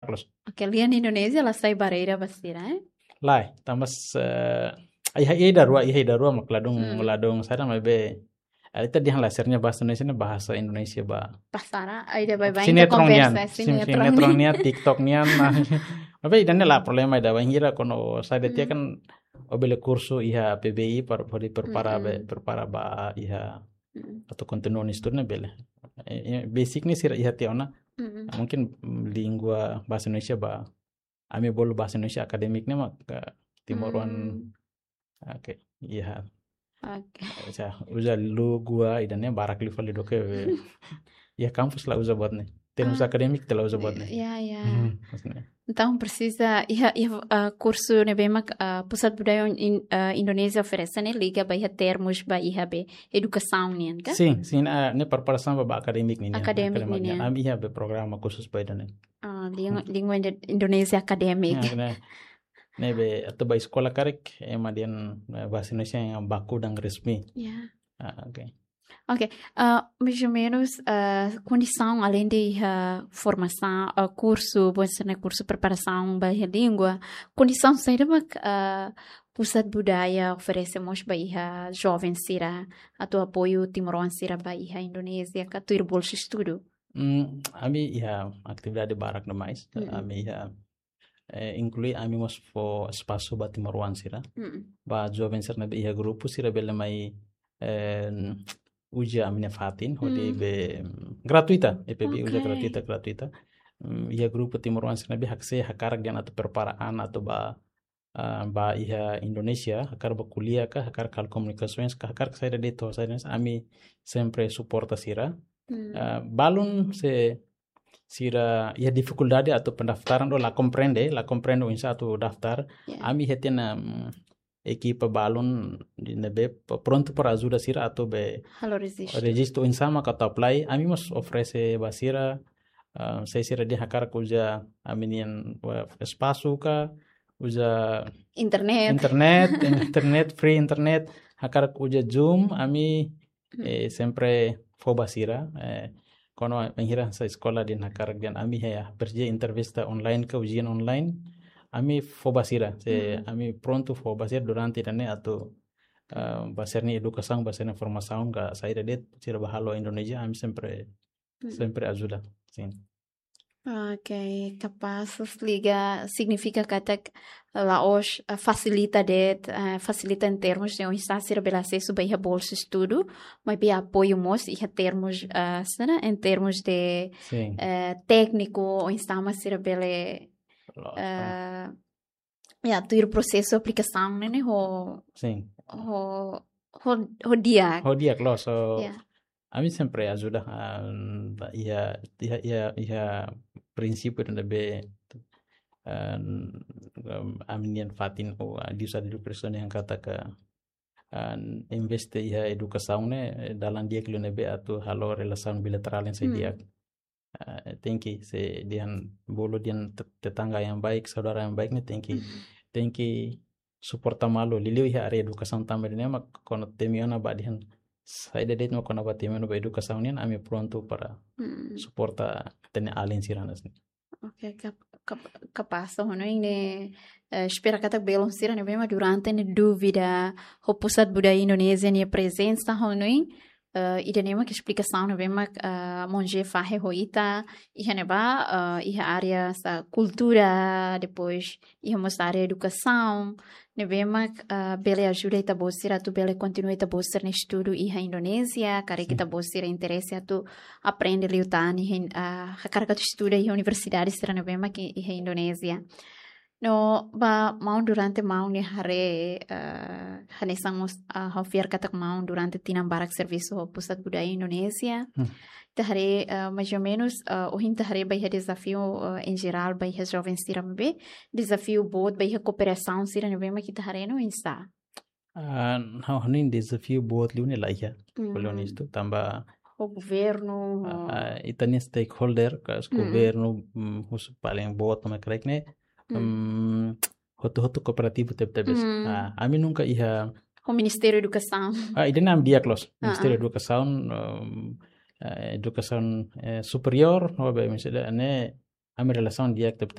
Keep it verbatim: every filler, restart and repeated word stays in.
Close. Oke, lian Indonézia la sai barreira ba sira, eh? Lae, tanba, eh, iha, iha ida-rua, iha ida-rua mak ladún, hmm, ladún saida, maibé, eh, ita dehan la sira-nia bahasa Indonézia ne'e bahasa Indonézia ba. Pasara, ai ida baibain ita sinetron nian, konversa, sin-, sinetron. Sinetron nian, TikTok nian, nah. Maibé ida-ne'e la problema ida, bainhira kuandu saida tiha, hmm, kan ó bele kursu iha P B I para, para prepara, hmm, be, prepara ba iha, hmm, atu kontinua estudu ne'e bele. Eh, eh, basic ne'e sira iha tiha ona. Hmm. Mungkin, mm, língua bahasa Indonézia ba. Ami bolu bahasa Indonézia akademik ne'e mak, eh, timoroan. Hmm. Oke, iha. Oke. Sa, uza lu gua ida-ne'e barak liu fali duké be. Iha kampus la uza buat ne'e. Termus, ah, akademik ita la uza buat ne'e. Ya, ya. Hmm, maksudnya. Entaun presiza iha, iha, ah, kursu ne'ebé mak, ah, Pusat Budaya In-, ah, Indonézia oferese ne'e liga ba iha termus ba iha be edukasaun nian ka? Sin, sin, ah, ne'e preparasaun ba, ba akademik nian. Akademik nian. Akademik nian. Ami iha be programa khusus ba ida-ne'e. Ah, língua, hmm, língua Indo-, Indonézia akademik. Ya, ne'e. Ne'ebé atu ba eskola karik, ema dehan, eh, bahasa Indonesia yang baku dan resmi. Ya. Ah, oke. Oke, eh, mais ou menus, eh, kondisaun alende iha formasaun, eh, kursu, buat sira-ne'e kursu preparasaun ba iha língua, kondisaun saida mak, eh, Pusat Budaya oferese mós ba iha joven sira, atu apoiu timoroan sira ba iha Indonézia, ka tuir bolsa estudu? Hmm, ami iha atividade barak demais. Mm-mm. Ami iha, eh, inklui ami mós fó espasu ba timoroan sira. Mm-mm. Ba joven sira ne'ebé iha grupu sira bele mai, eh, uza ami-nia fatin, hodi, mm, be, mm, gratuita, E P B I uza, oke, gratuita, gratuita. Mm, iha grupu timoroan sira ne'ebé hakse hakarak dehan atu prepara an atu ba, ah, ba iha Indonézia, hakarak ba ko'alia ka, hakarak halo komunikasoens ka, hakarak saida de'it, saida de'it, ami sempre suporta sira. Hmm. Ah, balun se sira iha difikuldade atu pendaftaran ou la komprende, la komprende oinsá atu daftar. Ya. Ami iha tiha ona, mm, ekipa balun ne'ebé p-, prontu para ajuda sira atu be halo rejistu. Rejistu oinsá mak atu apply. Ami mós oferese ba sira, ah, se sira dehan hakarak uza ami-nian, eh, espasu ka, uza internet. Internet, internet, free internet, hakarak uza Zoom, ami, hmm, eh, sempre fó ba sira, eh, kuandu bainhira sai eskola dehan hakarak dehan ami iha, ya, presiza entrevista online ka ujian online, ami fó ba sira, se, hmm, ami prontu fó ba sira durante ida-ne'e atu, eh, ba sira-nia edukasaun, ba sira-nia formasaun ka saida de'it, sira ba halo Indonézia, ami sempre, hmm, sempre ajuda, sin. Oke, kapás, liga signifika katak la'ós, eh, fasilita de'it, eh, fasilita em termos de oinsá sira bele asesu ba iha bolsa estudu, maibé apoiu mós iha termos, eh, sira, em termos de, sin, eh, tékniku, oinsá mak sira bele, lo-, eh, ah, ya, tuir prosesu aplikasaun ne'e, ne'e ho, sin, ho, ho, ho di'ak. Ho di'ak, loos, so, ya, ami sempre ajuda, ah, iha, iha, iha, iha prinsípiu ne'ebé, ah, ami-nian fatin ou, ah, di usaha di persona yang kata ke, ah, investe iha edukasaun ne'e, eh, dalan di'ak liu ne'ebé atu halo relasaun bilaterál yang, hmm, di'ak. Ah, tenke, se dehan bolu dehan te-, tetangga yang baik, saudara yang baik ne'e tenke, hmm, tenke suporta malu. Liuliu iha área edukasaun tanba ida-ne'e mak kuandu temi ona ba dehan saida de'it mak kuandu ba temi ona ba edukasaun nian ami prontu para, hmm, suporta ita-nia alin sira hanesan ne'e. Oke, kap-, kap-, kapás, ho hanoin ne'e, eh, espera katak belun sira ne'ebé mak durante ne'e dúvida ho Pusat Budaya Indonézia nia prezensa, ho hanoin, eh, ida-ne'e mak esplikasaun ne'ebé mak, eh, maun José fahe ho ita, iha ne'ebá, eh, iha área sa kultura, depois iha mós área edukasaun, ne'ebé mak, eh, bele ajuda ita-boot sira atu bele kontinua ita-boot sira-nia estudu iha Indonézia, karik, sin, ita-boot sira interese atu aprende liután iha, ah, hakarak atu estuda iha universidade sira ne'ebé mak iha Indonézia. No, ba maun durante maun nia haree, eh, hanesan mós, ah, ha'u fiar katak maun durante tinan barak servisu ho Pusat Budaya Indonézia. Hmm. Ita haree, eh, mais ou menus, eh, ohin ita haree ba iha dezafiu, eh, em geral, ba iha joven sira maibé, dezafiu boot ba iha kooperasaun sira ne'ebé mak ita haree no oinsá? Ah, ha'u hanoin dezafiu boot liu ne'e la iha, hmm, bolu honestu, tanba ho governu, ah, ho, ah, ita-nia stakeholder, ka, hmm, governu, mm, husi paling boot mak karik ne'e, hmm, mm, hotu-hotu kooperativu tebetebes. Hmm. Ah, ami nunka iha. Ho Ministériu Edukasaun. Ah, ida-ne'e ami di'ak loos. Ah, Ministériu, ah, Edukasaun, em, eh, Edukasaun, eh, Superiór, no be misalnya ne'e ami relasaun di'ak tebetebes.